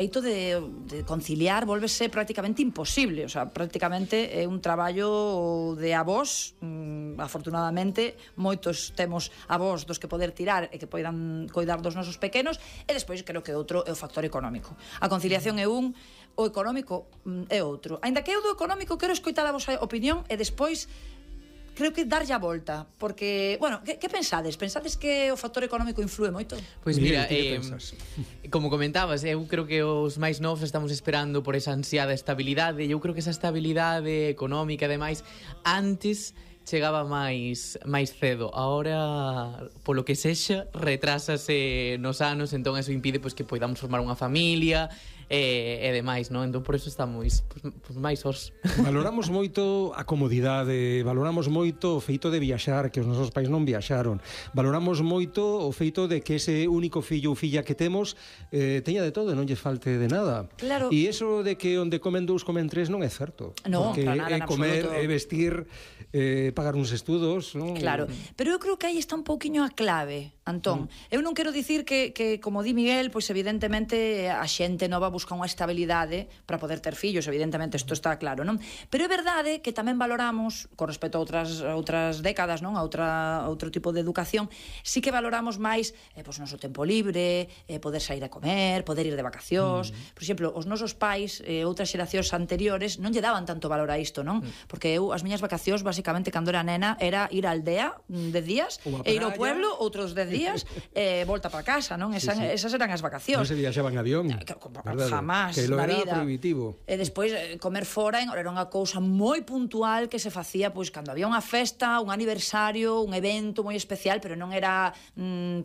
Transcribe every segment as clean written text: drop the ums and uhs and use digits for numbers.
feito de conciliar volvese prácticamente imposible, o sea, prácticamente é un traballo de avós. Afortunadamente moitos temos avós dos que poder tirar e que poidan coidar dos nosos pequenos, e despois creo que outro é o factor económico. A conciliación é un, o económico é outro. Aínda que eu do económico quero escoitar a vosa opinión e despois creo que darlle a volta, porque, bueno, que pensades? Pensades que o factor económico influe moito? Pois mira, como comentabas, eu creo que os máis novos estamos esperando por esa ansiada estabilidade, e eu creo que esa estabilidade económica, ademais, antes chegaba máis cedo. Ahora, polo que sexa, retrásase nos anos, entón eso impide pois que poidamos formar unha familia e demais, non? Entón por eso estamos máis os. Valoramos moito a comodidade, valoramos moito o feito de viaxar, que os nosos pais non viaxaron. Valoramos moito o feito de que ese único fillo ou filla que temos teña de todo e non lle falte de nada. Claro. E iso de que onde comen dous comen tres non é certo. No, porque para nada, é comer, é vestir, pagar uns estudos, non? Claro, pero eu creo que aí está un pouquiño a clave, Antón. Eu non quero dicir que como di Miguel, pois evidentemente a xente nova busca unha estabilidade para poder ter fillos, evidentemente isto está claro, non? Pero é verdade que tamén valoramos, con respecto a outras décadas, non? A outro tipo de educación, sí que valoramos máis pois o noso tempo libre, poder sair a comer, poder ir de vacacións. Por exemplo, os nosos pais, outras xeracións anteriores non lle daban tanto valor a isto, non? Porque eu, as miñas vacacións, basicamente, cando era nena, era ir á aldea 10 días e ir ao pueblo outros 10 días e volta para casa, non? Esas eran as vacacións. Non se viaxaba en avión, jamás na vida. Prohibitivo. E despois comer fora era unha cousa moi puntual que se facía pois cando había unha festa, un aniversario, un evento moi especial, pero non era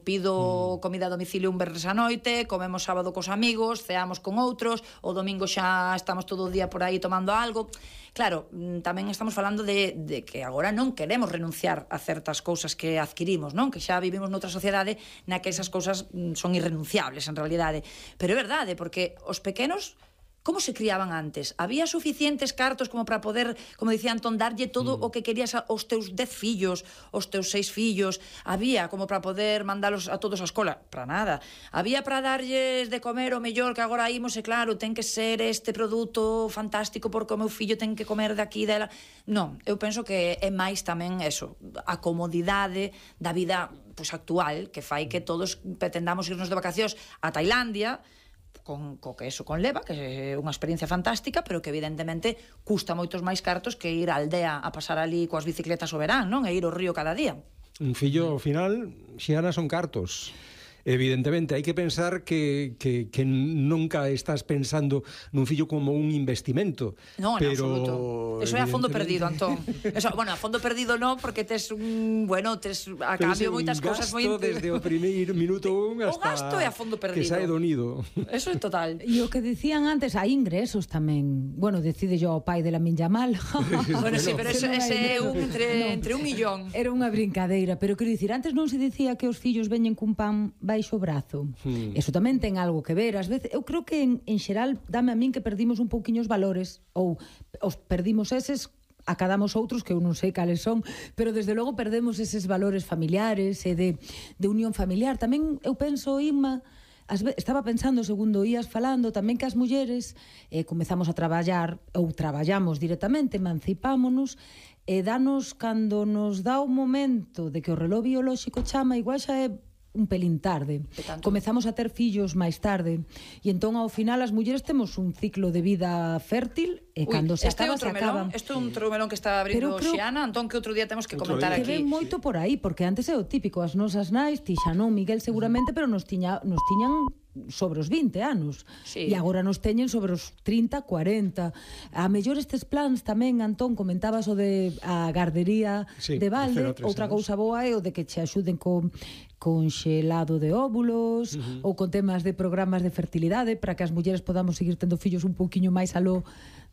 pido comida a domicilio un venres a noite, comemos sábado cos amigos, ceamos con outros, o domingo xa estamos todo o día por aí tomando algo. Claro, tamén estamos falando de que agora non queremos renunciar a certas cousas que adquirimos, non? Que xa vivimos noutra sociedade na que esas cousas son irrenunciables en realidade. Pero é verdade, porque os pequenos, como se criaban antes? Había suficientes cartos como para poder, como dicía Antón, darlle todo o que querías aos teus 10 fillos, aos teus 6 fillos? Había como para poder mandalos a todos a escola? Para nada. Había para darlles de comer o mellor que agora imos, e claro, ten que ser este produto fantástico porque o meu fillo ten que comer daqui dela. Non, eu penso que é máis tamén eso, a comodidade da vida pois actual, que fai que todos pretendamos irnos de vacacións a Tailandia, co que eso conleva, que é unha experiencia fantástica, pero que evidentemente custa moitos máis cartos que ir á aldea a pasar ali coas bicicletas o verán, non? E ir ao río cada día. Un fillo, ao final, Xiana, son cartos. Evidentemente, hai que pensar que nunca estás pensando nun fillo como un investimento. No, en absoluto. Eso é a fondo perdido, Antón. Eso, bueno, a fondo perdido non, porque tes tes a cambio moitas cousas moi... Pero desde o primeiro minuto hasta... O gasto é a fondo perdido. Que sae do nido. Eso é total. E o que dicían antes, hai ingresos tamén. Bueno, decide yo o pai de Lamine Yamal. Bueno, sí, pero ese é un entre un millón. Era unha brincadeira, pero quero dicir, antes non se dicía que os fillos veñen cun pan baixo o brazo. Eso tamén ten algo que ver. Ás veces, eu creo que en xeral dame a min que perdimos un pouquiño os valores, ou os perdimos eses, acadamos outros que eu non sei cales son, pero desde logo perdemos eses valores familiares e de unión familiar. Tamén eu penso, Inma, estaba pensando, segundo ías falando, tamén que as mulleres comezamos a traballar, ou traballamos directamente, emancipámonos, e danos, cando nos dá o momento de que o reloj biolóxico chama, igual xa é un pelín tarde. Comezamos a ter fillos máis tarde, e entón ao final as mulleres temos un ciclo de vida fértil e cando se acaba, se acaban. Isto é un melón que está abrindo Xiana, Antón, que outro día temos que comentar aquí. Que ven moito por aí, porque antes é o típico, as nosas nais, ti xa non, Miguel seguramente, pero nos tiñan sobre os 20 anos, e agora nos teñen sobre os 30, 40. A mellor estes plans tamén, Antón, comentabas o de a gardería de balde, outra cousa boa é o de que che axuden con xelado de óvulos, ou con temas de programas de fertilidade para que as mulleres podamos seguir tendo fillos un pouquiño máis aló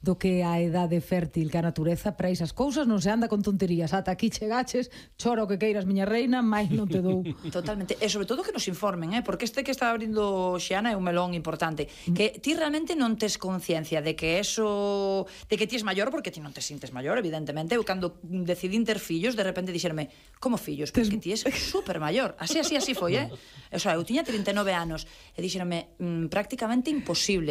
do que a edade fértil, que a natureza para esas cousas non se anda con tonterías. Ata aquí chegaches, chora o que queiras, miña reina, máis non te dou. Totalmente. E sobre todo que nos informen, porque este que está abrindo Xiana é un melón importante, que ti realmente non tes conciencia de que eso, de que ti es maior, porque ti non te sintes maior, evidentemente. Eu cando decidín ter fillos, de repente dixerme, como fillos? Porque ti es super maior. Así foi, O sea, eu tiña 39 anos e dixerme prácticamente imposible.